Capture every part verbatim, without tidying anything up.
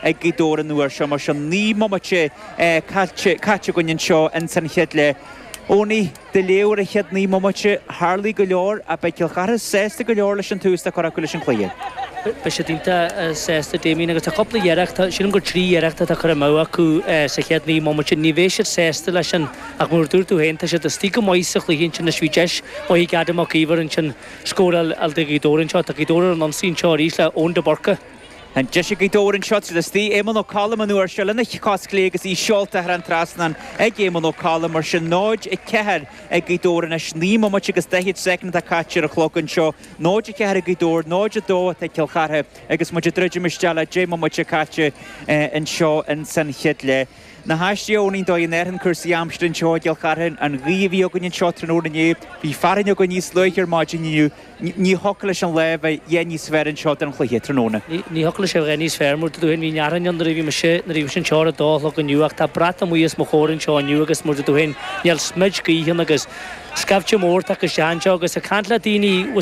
ag Gaoth Dobhair an uair seo mar sin naoi mbomaite caite againn anseo ins an chéad leath. Owenie, do léamh ar an chéad naoi mbomaite, tharlaigh go leor ach beidh Cill Chartha sásta go leor leis an tús atá curtha acu leis an chluiche. Beidh siad iontach sásta Damien agus tá cúpla iarracht sílim gur trí iarracht atá curtha amú acu sa chéad naoi mbomaite ní bheidh siad sásta leis sin ach mar dúirt tú féin tá siad istigh go maith sa chluiche ansin is bhí deis mhaith ag Adam Mac Íomhair ansin scóráil do Ghaoth Dobhair anseo tá Gaoth Dobhair ar an ionsaí anseo arís le Eoin de Burca. An deis ag Gaoth Dobhair anseo siad istigh Éamonn Ó Colm an uair seo lena chos chlé agus í seolta thar an trasnán ag Éamonn Ó Colm mar sin náid a ceathair ag Gaoth Dobhair anois naoi mbomaite agus daichead soicind atá caite ar an chlog anseo náid a ceathair ag Gaoth Dobhair náid a dó atá ag Cill Chartha agus muid ag druidim isteach le deich mbomaite caite anseo in san chéad leath. Na haistí óní dóigh in airthan cúrsaí aimsire anseo i gCill Chartha an ghaoth a bhí againn anseo tráthnóna inné bhí fearthainn againn níos luaithe ar maidin inniu ní thiocfadh leis an lá bheith a dhath níos fearr anseo don chluiche tráthnóna. Ní thiocfadh leis a bheith níos fearr mar dúinn bhí fearthainn ann nuair a bhí mise nuair a bhí sin seo a dó a chlog inniu ach tá brat amuigh os mo chomhair anseo inniu agus mar dúinn níl smid gaoithe ann agus scaifte mór tagtha isteach anseo agus ag caint le daoine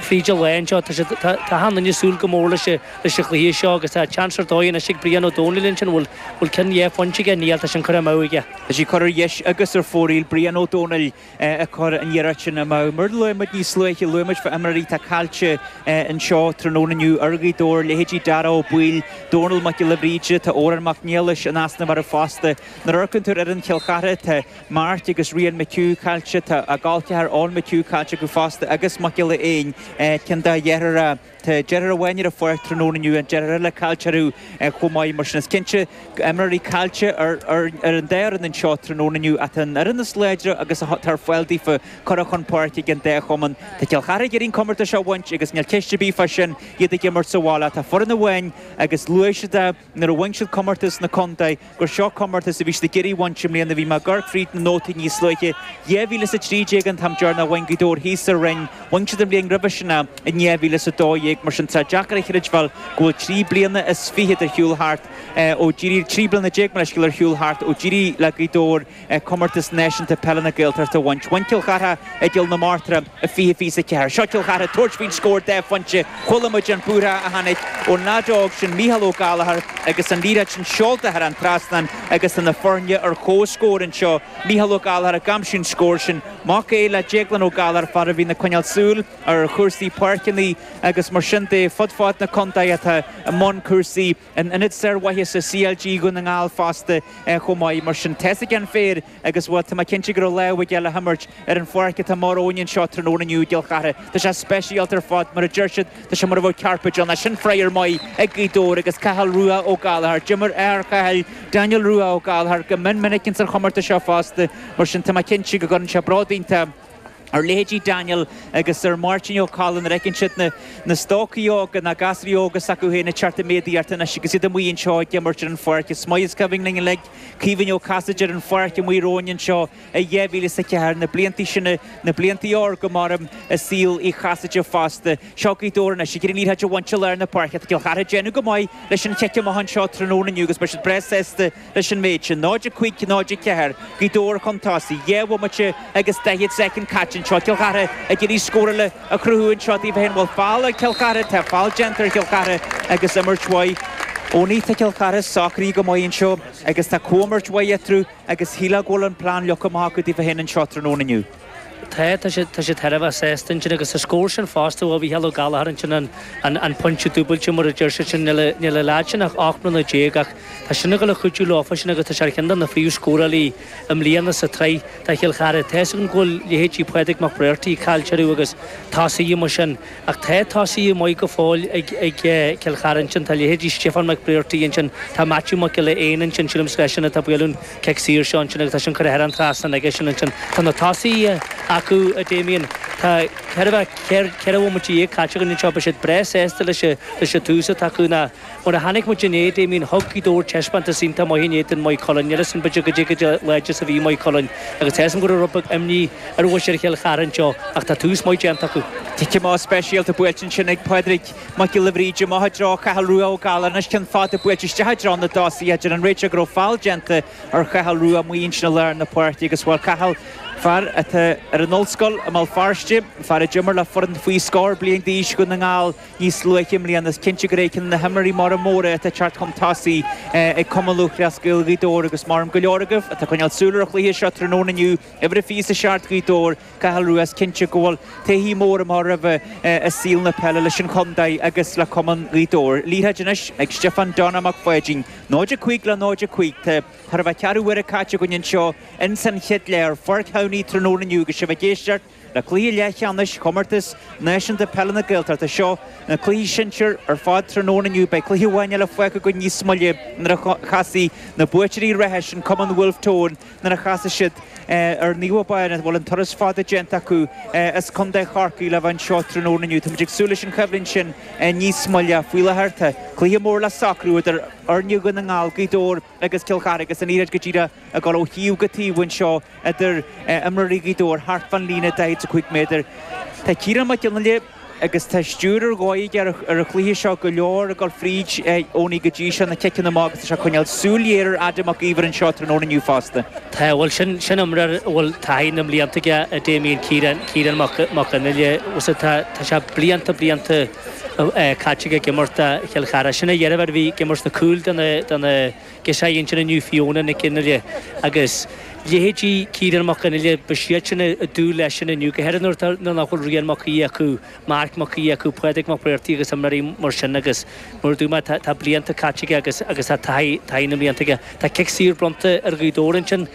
fríd an lá anseo tá siad tá achan duine ag súil go mór leis leis an chluiche seo agus tá seans ar dóigh anois ag Brian Ó Dónaill ansin bhfuil bhfuil ceann dhá phointe aige níl tá sin curtha amú aige. Tá sí curtha ar dheis agus ar fóraoil Brian Ó Dónaill ag cur an iarracht sin amú. Mar luaigh muid níos luaithe luaigh muid fá imreoirí atá caillte anseo tráthnóna inniu ar Ghaoth Dobhair leithéidí Dara Ó Baoill, Dónal Mac Giolla Bhríde, tá Odhrán Mac Niallais in easnamh orthu fosta. Nuair a amharcann tú ar fhoireann Chill Chartha tá Mark agus Rian McHugh caillte tá a gcol ceathar Eoin McHugh caillte acu fosta agus Mac Giolla Éin ceann dá dheartháir Tá deartháir amháin ar an pháirc tráthnóna inniu an deartháir eile caillte orthu chomh maith mar sin is cinnte imreoirí caillte ar ar an dá fhoireann anseo tráthnóna inniu ach tá an fhoireann is láidre agus atá ar fáil daofa curtha chun páirce ag an dá chumann. Tá Cill Chartha ag iarraidh an comórtas seo a bhaint agus níl ceist ar bith fá sin iad ag imirt sa bhaile tá foireann amháin agus luaigh siad é nuair a bhain siad comórtas na contae gur seo comórtas a bhí siad ag iarraidh a bhaint i mbliana bhí mé ag amharc fríd na nótaí níos luaithe dhá mhíle is a trí déag an t-am deireanach a bhain Gaoth Dobhair thíos sa Rinn bhain siad an bhliain roimhe sin é in dhá mhíle is a dó dhéag mar sin tá deacair a chreidbheáil go bhfuil trí bliana is fiche ar shiúl thart ó d'éirigh trí bliana déag mar leithscéal ar shiúl thart ó d'éirigh le Gaoth Dobhair comórtas náisiúnta peile na Gaeltachta a bhaint. Bhain Cill Chartha i gCill na Martra i fiche fiche a ceathair. Seo Cill Chartha tabhairt faoin scór dhá phointe chuala muid an búrtha a tháinig ón leaid óg sin Mícheál Ó Gallchóir agus an liathróid sin seolta thar an trasnán agus tá na foirne ar comhscór anseo Mícheál Ó Gallchóir ag aimsiú an scór sin mac é le Déaglán Ó Gallchóir fear a bhíonn ag coinneáil súil ar chúrsaí páirceanna agus mar sin de fud fad na contae atá i mbun cúrsaí in ionad sármhaitheasa CLG Dhún na nGall fosta chomh maith mar sin tá a fhios ag an fear agus bhuel tá mé cinnte go raibh lámh aige le himirt ar an pháirc atá amach romhainn anseo tráthnóna inniu i gCill Chartha. Tá sé speisialta ar fad mar a deir siad tá sé mar a bheadh carpet ann sin friochar maith ag Gaoth Dobhair agus Cathal Rua Ó Gallchóir. D'imir athair Chathail Daniel Rua Ó Gallchóir go mion minic ins an chomórtas seo fosta mar sin tá mé cinnte go gcuireann sé bród iontach ar leithéidí Daniel agus ar Máirtín Ó Cadhlain nuair a fheiceann siad na na stócaigh óga na gasraí óga s'acu féin ag teacht i méadaíocht anois agus iad amuigh anseo ag imirt ar an pháirc. Is maith is cuimhin linn uilig Caoimhín Ó Casaide ar an pháirc amuigh romhainn anseo i dhá mhíle is a ceathair na blianta sin na blianta órga mar i saol Uí Chasaide fosta. Seo Gaoth Dobhair anois ag iarraidh an liathróid a bhaint i lár na páirce. Tá Cill Chartha ag déanamh go maith leis an chic amach anseo tráthnóna inniu agus beidh siad breá sásta leis an méid sin. náid a cúig náid a ceathair Gaoth Dobhair chun tosaigh, dhá bhomaite agus daichead soicind caite anseo Cill Chartha ag iarraidh scór eile a chruthú anseo daofa féin bhfuil feall ag Cill Chartha tá feall déanta ar Chill Chartha agus imirt mhaith Owenie tá Cill Chartha socraithe go maith anseo agus tá comhimirt mhaith eatarthu agus shílfeá go bhfuil an plean leagtha amach acu daofa féin anseo tráthnóna inniu. Tá tá siad tá siad thar a bheith sásta ansin agus sa scór sin fosta ó Mhícheál Ó Gallchóir ansin an an an pointe dúbailte mar a deir siad sin níl níl an leaid sin ach ocht mbliana déag ach tá sin ag dul a chuidiú leofa sin agus tá sé ar cheann de na phríomhscórálaí i mbliana sa tsraith do Chill Chartha. Tá a fhios againn go bhfuil leithéidí Pádraig Mac Bréartaigh caillte orthu agus tosaithe mar sin ach tá tosaithe maith go fóill ag ag Cill Chartha ansin tá leithéidí Stiofán Mac Bréartaigh ansin tá Matthew Mac Giolla Éin ansin sílim leis sin atá ag bualadh an cic saor seo ansin agus tá sin curtha thar an trasnán aige sin ansin tá na tosaithe acu a Damien tá ceithre bheith ceithre bhomaite déag caite againn anseo beidh siad breá sásta leis leis an tús atá acu ná mar a chonaic muid inné Damien thug Gaoth Dobhair taispeántas iontach maith inné don Maigh Cuilinn níl sin b'fhéidir go dtí go láidir is a bhí Maigh Cuilinn agus tá a fhios agam go raibh rud beag imní ar mhuintir Chill Chartha anseo ach tá tús maith déanta acu. Cic amach speisialta buailte ansin ag Pádraig Mac Giolla Bhríde amach i dtreo Chathal Rua Ó Gallchóir anois ceann fada buailte isteach i dtreo na dtosaithe deir an réiteoir go raibh feall déanta ar Chathal Rua amuigh ansin i lár na páirce agus bhuel Cathal fear atá ar an ollscoil i mBéal Feirste Feirste, fear a d'imir le foireann faoi scór bliain d'aois Dhún na nGall níos luaithe i mbliana. Is cinnte gur é ceann de na himreoirí móra móra atá ag teacht chun tosaigh ag Cumann Lúthchleas Gael Ghaoth Dobhair agus maram go leor agaibh atá ag coinneáil súil ar an chluiche seo tráthnóna inniu, uimhir a fiche is a seacht Ghaoth Dobhair, Cathal Rua. Is cinnte go bhfuil taithí mór amach roimhe i saol na peile leis an chontae agus le Cumann Ghaoth Dobhair. Liathróid anois ag Stiofán Donna Mac Pháidín. náid a cúig le náid a cúig. Tá chóir a bheith ceathrú uaire caite againn anseo ins an chéad leath ar Pháirc Shamhnaí tráthnóna inniu agus sibh ag éisteacht le cluiche leathcheannais Chomórtas Náisiúnta Peile na Gaeltachta. Seo na cluichí sinsir ar fad tráthnóna inniu. Beidh cluiche amháin eile fágtha againn níos moille nuair a chasfaidh na buaiteoirí reatha sin Cumann Bhulf Tón nuair a chasfaidh siad ar Naomh Abán a bhfuil an turas fada déanta acu as Contae Chorcaí le bheith anseo tráthnóna inniu. Táimid ag súil leis an choimhlint sin níos moille. Faoi láthair tá cluiche mór le socrú idir fhoirne Dhún na nGall, Gaoth Dobhair agus Cill Chartha agus an liathróid go díreach ag dul ó thaobh go taobh anseo idir imreoirí Ghaoth Dobhair thart fán líne daichead is a cúig méadar. Tá Ciarán Mac Fhionnghaile agus tá stiúir ar dhóigh aige ar an chluiche seo, go leor ag dul fríd Eoiní go dtí seo, na ciceanna amach agus tá sé ag coinneáil súil ghéar ar Adam Mac Íomhair anseo tráthnóna inniu fosta. Tá, bhuel sin sin imreoir a bhfuil taithí na mblianta aige a Damien, Ciarán, Ciarán Mac Mac Fhionnghaile, tá tá sé blianta blianta caite aige ag imirt do Chill Chartha. Sin a dheirfiúr a bhí ag imirt sna cúil do na do na girseachaí ansin inniu, Fiona Nic Fhionnghaile agus leithéidí Ciarán Mac Fhionnghaile, ba siad sin a dúil leis sin inniu, go háirithe nuair atá nuair nach bhfuil Rian Mac Aoidh acu, Marc Mac Aoidh acu, Pádraig Mac Bréartaigh agus imreoirí mar sin agus mar a dúirt mé tá tá blianta caite aige agus agus tá taithí taithí na mblianta aige. Tá cic saor bronnta ar Ghaoth Dobhair ansin.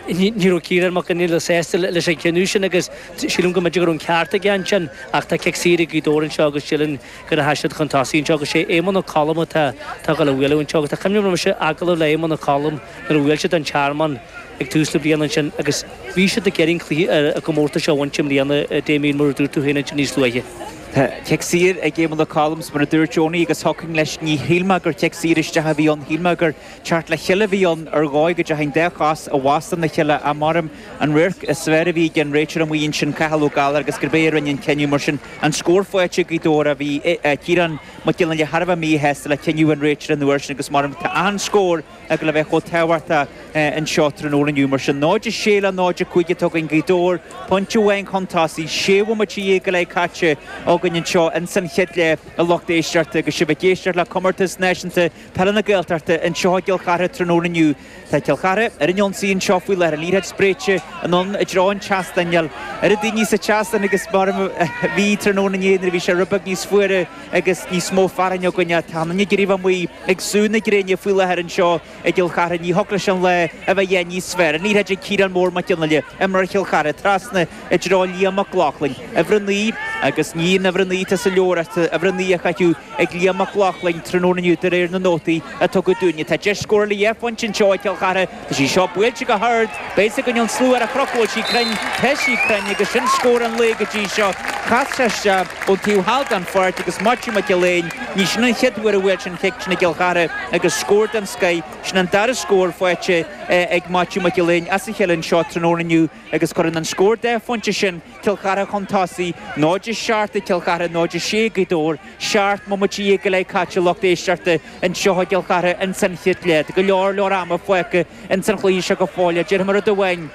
Ní raibh Ciarán Mac Fhionnghaile sásta leis an chinneadh sin agus sílim go mb'fhéidir go raibh an ceart aige ansin ach tá cic saor ag Gaoth Dobhair anseo agus sílim go rachaidh siad chun tosaigh anseo agus sé Éamonn Ó Colm atá tá ag dul a bhualadh anseo agus tá cuimhne agam mise agallamh le Éamonn Ó Colm nuair a bhuail siad an Tearmann ag tús na bliana ansin agus bhí siad ag iarraidh an cluiche an comórtas seo a bhaint i mbliana Damien mar a dúirt tú féin ansin níos luaithe. Tá cic saor ag Éamonn Ó Colm mar a dúirt Eoiní agus thiocfainn leis ní shíl mé gur cic saor isteach a bhí ann, shíl mé gur teacht le chéile a bhí ann ar dhóigh go dteachaidh an dá chos i bhfastó na chéile ach maram an radharc is fearr a bhí ag an réiteoir amuigh ansin Cathal Ó Gallchóir agus gurb é a rinne an cinneadh mar sin an scór faighte ag Gaoth Dobhair a bhí Ciarán Mac Fhionnghaile thar a bheith míshásta le cinneadh an réiteora an uair sin agus maram tá an scór ag le bheith chomh tábhachtach anseo tráthnóna inniu mar sin náid a sé le náid a cúig atá againn Gaoth Dobhair pointe amháin chun tosaigh sé bhomaite déag go leith caite againn anseo ins an chéad leath a lucht éisteachta agus sibh ag éisteacht le comórtas náisiúnta peile na Gaeltachta anseo i gCill Chartha tráthnóna inniu. Tá Cill Chartha ar an ionsaí anseo faoi láthair an liathróid spréite anonn i dtreo an tseastáin ar a daoine sa tseastán agus mar a bhí tráthnóna inné nuair a bhí sé rud beag níos fuaire agus níos mó fearthainne againne tá na gréibh amuigh ag sú na gréine faoi láthair anseo i gCill Chartha ní thiocfadh leis an lá a bheith níos fearr. An liathróid ag Ciarán Mór Mac Fhionnghaile imreoir Chill Chartha trasna i dtreo Liam Mac Lochlainn. Uimhir a naoi agus ní an uimhir a naoi tá sa leabhar uimhir a naoi a chaitheamh ag Liam Mac Lochlainn tráthnóna inniu de réir na nótaí a tugadh dúinne. Tá deis scórála dhá phointe anseo i gCill Chartha Tá sí seo buailte go hard, Beidh go an slua ar a chrochbhfuil sí cruinn tá sí cruinn agus sin scór an lae go dtí seo. Chas sé isteach ón taobh thall den pháirc agus Maitiú Mac Gill-Eain ní sin an chéad uair a bhuail sin cic sin i gCill Chartha agus scór den scoth sin an dara scór faighte ag Maitiú Mac Gill-Eain as a chéile anseo tráthnóna inniu agus cuireann an scór dhá phointe sin Cill Chartha chun tosaigh náid a seacht ag Cill Chartha náid a sé Gaoth Dobhair seacht mbomaite déag go leith caite lucht éisteachta anseo i gCill Chartha ins an chéad leath go leor leor ama fágtha ins an chluiche seo go fóill déarfaidh mé rud amháin.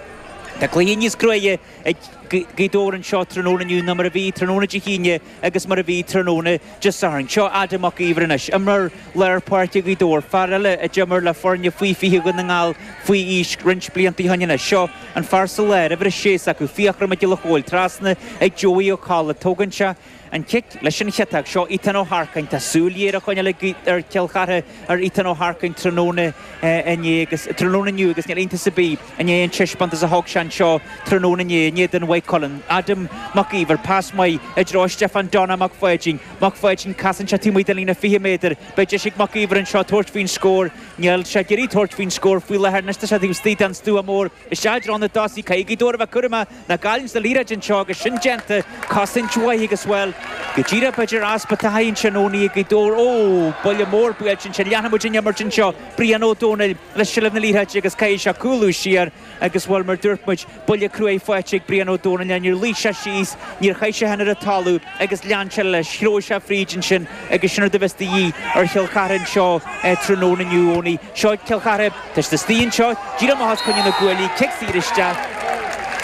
Tá cluiche níos cruaidhe ag Gaoth Dobhair anseo tráthnóna inniu ná mar a bhí tráthnóna Dé hAoine agus mar a bhí tráthnóna Dé Sathairn. Seo Adam Mac Íomhair anois, imreoir lár páirce Ghaoth Dobhair, fear eile a d'imir le foirne faoi fiche Dhún na nGall faoi aois roinnt blianta ó shin anois. Seo an fear sa lár, uimhir a sé s'acu, Fiachra Mac Giolla Chóill, trasna ag Joey Ó Colla, tógann sé an cic leis an chiotach seo Ethan Ó Harcáin tá súil ghéar á choinneáil ar Chill Chartha ar Ethan Ó Harcáin tráthnóna inné agus tráthnóna inniu agus níl iontas ar bith i ndiaidh an taispeántas a thug sé anseo tráthnóna inné in éadan Mhaigh Cuilinn. Adam Mac Íomhair pas maith i dtreo Stefan Donna Mac Pháidín. Mac Pháidín casann sé taobh amuigh den líne fiche méadar, Beidh deis ag Mac Íomhair anseo tabhairt faoin scór. Níl sé ag iarraidh tabhairt faoin scór faoi láthair anois tá sé taobh istigh den stua mór. Isteach i dtreo na dtosaithe caithfidh Gaoth Dobhair a bheith cúramach nach gcailleann na liathróid anseo agus sin déanta cosaint mhaith agus bhuel go díreach b'fhéidir easpa taithí ansin ó ní Gaoth Dobhair ó buille mór buailte ansin leanfaidh muid an imirt anseo Brian Ó Dónaill le seilbh na liathróide agus caithfidh sé cúlú siar agus bhuel mar dúirt muid buille cruaidh faighte ag Brian Ó Dónaill níor luigh sé síos níor chaith sé ar an talamh agus lean sé leis threabh sé fríd ansin agus sin rud a bheas de dhíth ar Chill Chartha anseo tráthnóna inniu Eoiní. Seo Cill Chartha tá siad istigh anseo díreach amach os coinne na gcuaillí cic saor isteach.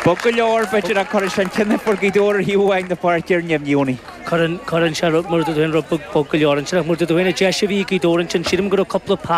Bog go leor b'fhéidir a chuir sé an cinneadh a fuair Gaoth Dobhair ar thaobh amháin na páirce ar neamhní. Cuireann sé mar dúin rud bog go leor ansin mar dúin deis a bhí Gaoth Dobhair ansin sílim go raibh cúpla